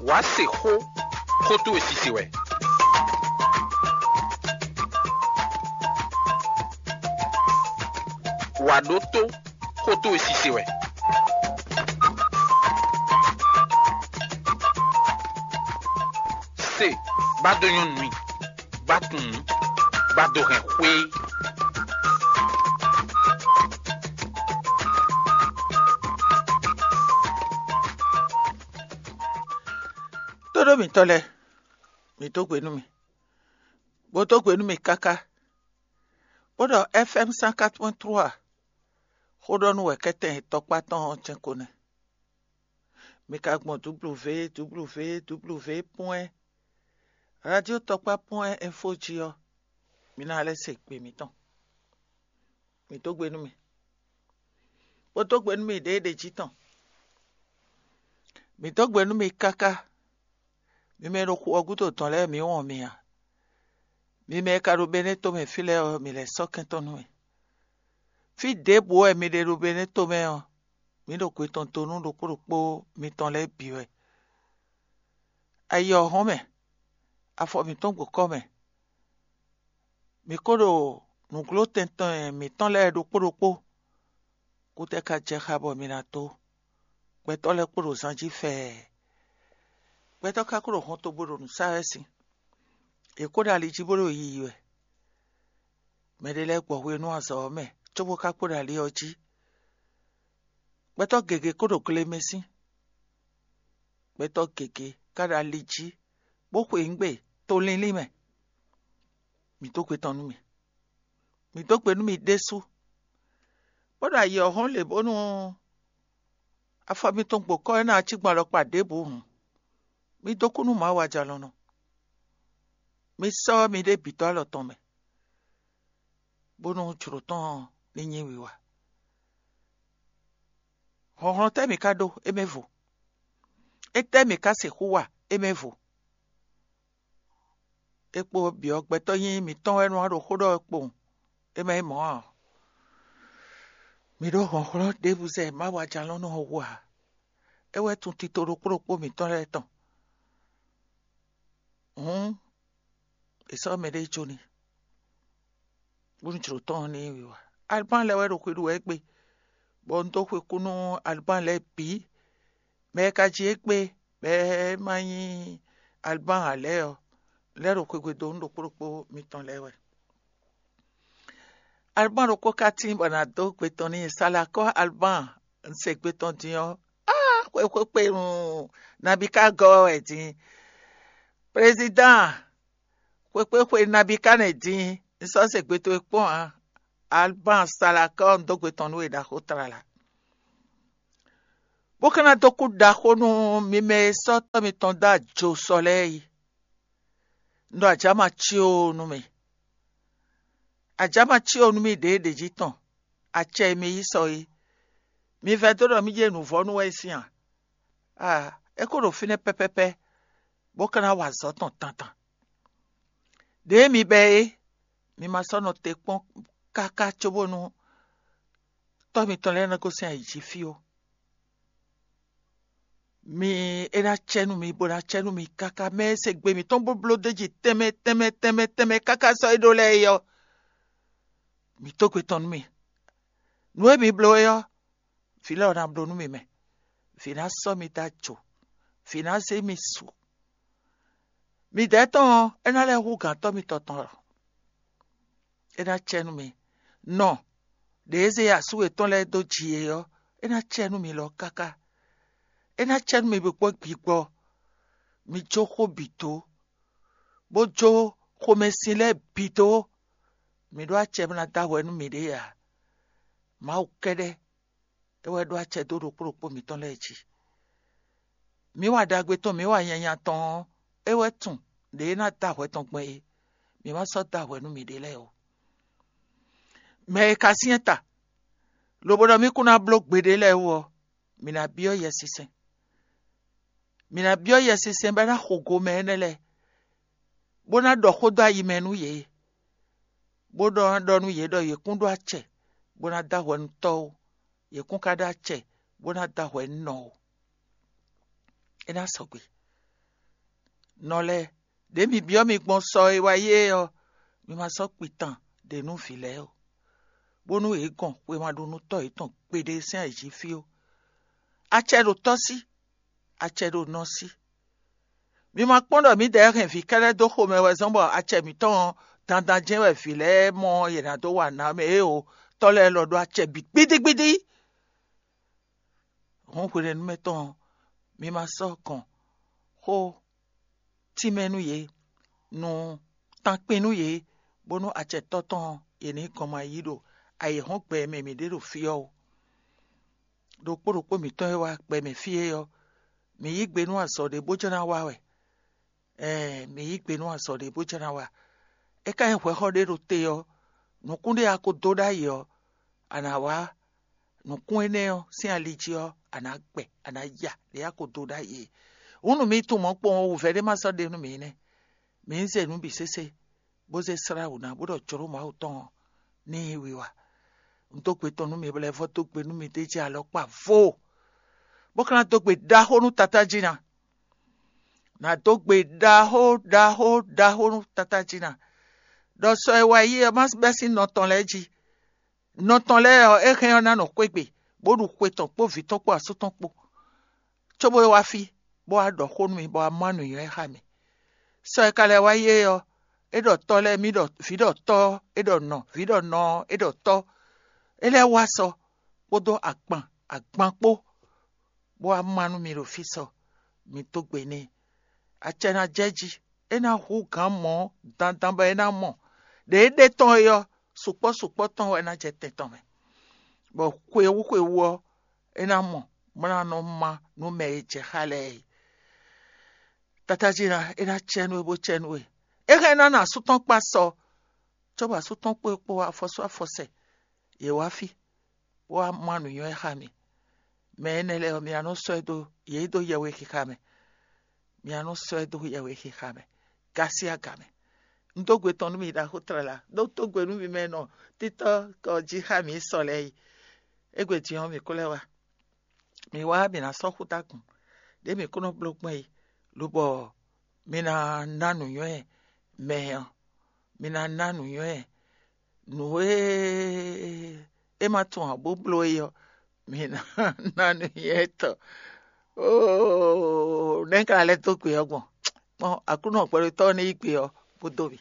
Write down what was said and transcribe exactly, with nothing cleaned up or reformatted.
Wǎ se xó, xó towe sise wɛ. Wǎ ɖótó, xó towe sise wɛ. Se, bá dó nyɔ́ nú mì, bá tunwun, bá dó hɛn xwé. Tóɖó mǐtɔn lɛ́ɛ, mǐ dó gbe nú mì, bó dó gbe nú mì káká, bó ɖɔ F M cent quatre point trois xó ɖɔ nú wɛ̌kɛ́tɛn tɔkpá tɔn ɔ́ jɛ́n ko nɛ́. Mi ka gbɔn W W W point radio tɔkpá point info jí ɔ́, mi ná lɛ́ se gbe mǐtɔn. Mǐ dó gbe nú mi, bó dó gbe nú mi ɖěeɖě jí tɔn. Mǐ dó gbe nú mi káká. Mi mɛ e ɖo xu ɔ́ gúdo dɔn lɛ́ɛ, mǐ wɔn mi ǎ. Mi mɛ e ka ɖo Benɛ́ tomɛ fí lɛ́ɛ ɔ́, mǐ lɛ́ sɔ́ kɛntɔ́ nú mi. Fí ɖěbǔ wɛ mi ɖe ɖo Benɛ́ tomɛ ɔ́, mǐ ɖo gbe tɔn do nú ɖokpó ɖokpó mitɔn lɛ́ɛ bǐ wɛ. Ayi ɔ́ hɔn mɛ, afɔ mǐtɔn gbo kɔ́ mɛ. Mǐ ko ɖo nǔgló tɛntɔn mǐtɔn lɛ́ɛ ɖokpó ɖokpó. Kútɛ́ ka jɛ xá bɔ mi ná dó? Gbɛtɔ́ lɛ́ɛ kpo ɖo zan jí fɛɛ. Gbɛtɔ́ ka ko ɖo hɔntogbó ɖo nǔ sa wɛ sín. Yě ko ɖo ali jí bó ɖo yiyi wɛ. Mɛɖé lɛ́ɛ gbɔ hwenu azɔ̌ ɔ́ mɛ, cóbó ka kpo ɖo ali ɔ́ jí. Gbɛtɔ́ gěgé ko ɖo gle mɛ sín. Gbɛtɔ́ gěgé ka ɖo ali jí, bó xweyǐgbe to linlin mɛ. Mǐ dó gbe tɔn nú mì. Mǐ dó gbe nú mì ɖésú, bó ɖo ayǐ ɔ́ hɔ́n lě bónú afɔ mitɔn gbo kɔ́ ɔ́ ná cí gbɔn alɔkpa ɖěbǔ hǔn, mì dó kú nú Mawu ajalɔ̌nlɔn. Mi sɔ́ miɖée bǐ dó alɔ tɔn mɛ, bónú jlǒ tɔn ní nyí wiwa. Hlɔ̌nhlɔ́n tɛ́ mǐ ka ɖó? É mɛ vo. Étɛ́ mǐ ka sixú wa? É mɛ vo. É kpo byɔ̌ gbɛtɔ́ nyí mǐtɔn wɛ nɔ wá ɖo xó ɖɔ wɛ kpowun, é mɛ nyí mɔ̌ ǎ. Mǐ ɖó hlɔ̌nhlɔ́n ɖěbǔ zɛ Mawu ajalɔ̌nlɔn ɔ́ wú ǎ. É wɛ tunwun tito ɖokpó ɖokpó mǐtɔn lɛ́ɛ tɔn. Hǔn è sɔ́ mɛɖé jó n'i, bónú jlǒ tɔn ɔ́ ní wiwa. Alban lɛ́ɛ wɛ ɖo xwe ɖu wɛ égbé, bɔ un dó xwe kú nú Alban lɛ́ɛ bǐ. Mɛ e ka jí égbé bɔ é ma nyí Alban ǎ lɛ́ɛ ɔ́, lɛ́ ɖo xwegbe dó nú ɖokpó ɖokpó mitɔn lɛ́ɛ wɛ. Alban ɖokpó ka tíin bɔ nǎ dó gbe tɔn n'i. Salakɔ́ Alban, un se gbe tɔn din ɔ́, aa, xwexwé kpe nu nabí ka gɔ́ wɛ din. Prezidán, xwexwé xwe nabí ka nɛ din, un sɔ́ se gbe towe kpɔ́n ǎ. Alban Salakɔ́, un dó gbe tɔn nú we ɖaxó tlala. Bó ka ná dó kú ɖaxó nú mi mɛ e sɔ́ tɔ́ mitɔn dó ajo sɔ lɛ́ɛ é. Un ɖɔ ajǎ ma cí o nú mi. Ajǎ ma cí o nú mi ɖěeɖě jí tɔn, acɛ e mi yí sɔ é. Mi vɛdó ɖɔ mí jɛ nǔvɔ́ nú wɛ é sín a? Aa, é ko ɖo fínɛ́ pɛ́pɛ́pɛ́, bó ka ná wa azɔ̌ tɔn tantan. Ɖěe mi bɛ é, mi ma sɔ́ nɔ te kpɔ́n káká cóbónú tɔ́ mitɔn lɛ́ɛ ná gosín ayǐ jí fí ó. Mi, é ná cɛ nú mi, bó ná cɛ nú mi káká. Mɛ e se gbe mǐtɔn bó bló d'é jí tɛnmɛ tɛnmɛ tɛnmɛ tɛnmɛ káká sɔ́ é ɖó lɛ́ɛ é ɔ́, mǐ tó gbe tɔn nú mi. Nǔ e mi bló é ɔ́, vǐ lɛ́ɛ ɔ́ ná bló nú mi mɛ. Vǐ ná sɔ́ mi dó ajo, vǐ ná zé mi su. Midɛɛ tɔn ɔ́, é ná lɛ́ hú gǎn tɔ́ mitɔn tɔn lɔ. É ná cɛ nú mi. Nɔ ɖě e zé asú yětɔn lɛ́ɛ dó ji é ɔ́, é ná cɛ nú mi lɔ káká. É ná cɛ nú mi bǐ kpɔ́ gbigbɔ. Mi jó xó bǐ dó, bó jó xomɛsin lɛ́ɛ bǐ dó. Mi ɖó acɛ bó ná dó ahwɛ nú miɖée ǎ. Mawu kɛ́ɖɛ́ é wɛ ɖó acɛ dó ɖokpó ɖokpó mǐtɔn lɛ́ɛ jí. Mǐ wa ɖagbe tɔn, mǐ wa nyanya tɔn ɔ́, é wɛ tunwun ɖě é ná dó ahwɛ tɔn gbɔn é. Mǐ ma sɔ́ dó ahwɛ nú miɖée lɛ́ɛ ó. Mɛ e ka syɛ́n ta, lobo ɖɔ mì kún ná bló gbeɖé lɛ́ɛ wú ɔ́, mǐ ná byɔ́ Yɛsinsɛn. Mǐ ná byɔ́ Yɛsinsɛn bɔ é ná xo go mɛ énɛ́ lɛ́ɛ, bó ná ɖɔ xó dó ayi mɛ nú yě, bó ɖɔ ná ɖɔ nú yě ɖɔ yě kún ɖó acɛ bó ná dó ahwɛ nú Tɔ́ ó, yě kún ka ɖó acɛ bó ná dó ahwɛ nú nɔ ó. É ná sɔgbe. Nɔ lɛ́ɛ, ɖě mi byɔ́ mi gbɔn sɔ e wá yi é ɔ́, mi ma sɔ́ kpitan ɖě nú vǐ lɛ́ɛ ó, bónú yě gɔn xwemaɖónútɔ́ yětɔn gbeɖé sín ayǐjí fí ó. Acɛ ɖo tɔ́ sí, acɛ ɖo nɔ sí. Mi ma kpɔ́n ɖɔ mǐdɛɛ hɛn vǐ kɛ́ɖɛ́ dó xomɛ wɛ zɔ́n bɔ acɛ mǐtɔn ɔ́, dandan jɛ́n wɛ vǐ lɛ́ɛ mɔ yě ná dó wa nǎ mɛ é o. Tɔ́ lɛ́ɛ lɔ ɖó acɛ bǐ gbídígbídí. Hɔn hwenɛ́nu mɛtɔn ɔ́, mi ma sɔ́ gɔn xó tínmɛ nú yě, nú tankpin nú yě, bónú acɛtɔ́ tɔn ɔ́, yě ní gɔn ma yí ɖo ayǐhɔ́ngbe e mɛ mǐ ɖe ɖo fí ɔ́ ó. Ɖokpó ɖokpó mǐtɔn e wá gbɛ mɛ fí é ɔ́, mǐ yí gbe nú azɔ̌ ɖé bó jló ná wa wɛ. Ɛɛ, mǐ yí gbe nú azɔ̌ ɖé bó jló ná wa. É ka nyí hwɛxɔ ɖé ɖo te ɔ́, nǔkún ɖé a ko dó ɖ'ayǐ ɔ́, a nǎ wá nǔkún énɛ́ ɔ́ sín ali jí ɔ́, a nǎ gbɛ, a nǎ ya ɖě a ko dó ɖ'ayǐ é. Hǔn nú mi tunwun mɔ̌ kpowun ɔ́, wǔvɛ́ ɖé ma sɔ́ ɖe nú mǐ nɛ́. Mǐ ń zé nǔ bǐ sésé, bó zé slá wǔ ná, bó ɖɔ jlǒ Mawu tɔn ɔ́ ní nyí wiwa. Un dó gbe tɔn nú mi, bɔ lɛ́ vɔ́ dó gbe nú mi d'é jí alɔkpa vo, bó ka ná dó gbe ɖaxó nú Tatá jí ná. Nǎ dó gbe ɖaxó ɖaxó ɖaxó nú Tatá jí ná, ɖɔ sɔ e wá yi ɔ́ má bɛ́ sín nɔ tɔn lɛ́ɛ jí. Nɔ tɔn lɛ́ɛ ɔ́, é hɛn ɔ́ ná nɔ xwé gbe, bó ɖu xwe tɔn kpó vǐ tɔn kpó asú tɔn kpó, cóbó é wá fí, bó wá ɖɔ xó nú mi, bɔ wá má nǔnywɛ́ xá mi. Sɔ e ka lɛ́ wá yi é ɔ́, é ɖɔ tɔ́ lɛ́ɛ mì ɖɔ vǐ ɖɔ tɔ́, é ɖɔ nɔ vǐ ɖɔ nɔ, é ɖɔ tɔ́. É lɛ́ wá sɔ kpódó agban agban kpó, bó wá má nú mi ɖo fí sɔ, mi dó gbe n'i. Acɛ ná jɛ jí, é ná hú gǎn mɔ̌ dandan bɔ é ná mɔ. Ɖě é ɖe tɔn é ɔ́, sukpɔ́ sukpɔ́ tɔn wɛ ná jɛ tɛn tɔn mɛ, bɔ xwewú xwewú ɔ́, é ná mɔ, bó ná nɔ má nú mɛ e jɛ xá lɛ́ɛ é. Tatájí ná é ná cɛ nú we bó cɛ nú we. É hɛn ná nɔ asú tɔn kpá sɔ, cóbɔ asú tɔn kpó é kpó afɔsú afɔsɛ, yě wá fí, bó wá má nǔnywɛ́ xá mi. Mɛ énɛ́ lɛ́ɛ ɔ́, mi ná nɔ sɔ́ ɛ dó yě dó yɛhwexixa mɛ. Mi ná nɔ sɔ́ ɛ dó yɛhwexixa mɛ, gási aga mɛ. Un dó gbe tɔn nú mi ɖaxó tlala, ɖó dó gbe nú mi mɛ nɔ títɔ́ kɔ jí xá mi sɔ lɛ́ɛ yi. Égbé din ɔ́, mǐ kó lɛ́ wá. Mǐ wá mǐ ná sɔ́ xútágun, ɖě mǐ kó nɔ bló gbɔn é, lobɔ mi ná ná nǔnywɛ́ mɛ ɔ́, mi ná ná nǔnywɛ́ nǔ e é ma tunwun ǎ bó bló é ɔ́, mi ná ná nǔnywɛ́ tɔn. Óo, nɛ̌ ka lɛ́ dó gbe ɔ́ gbɔn? Kpɔn Aklúnɔ gbɛɖotɔ́ ɔ́ ní yí gbe ɔ́ bó dó mi.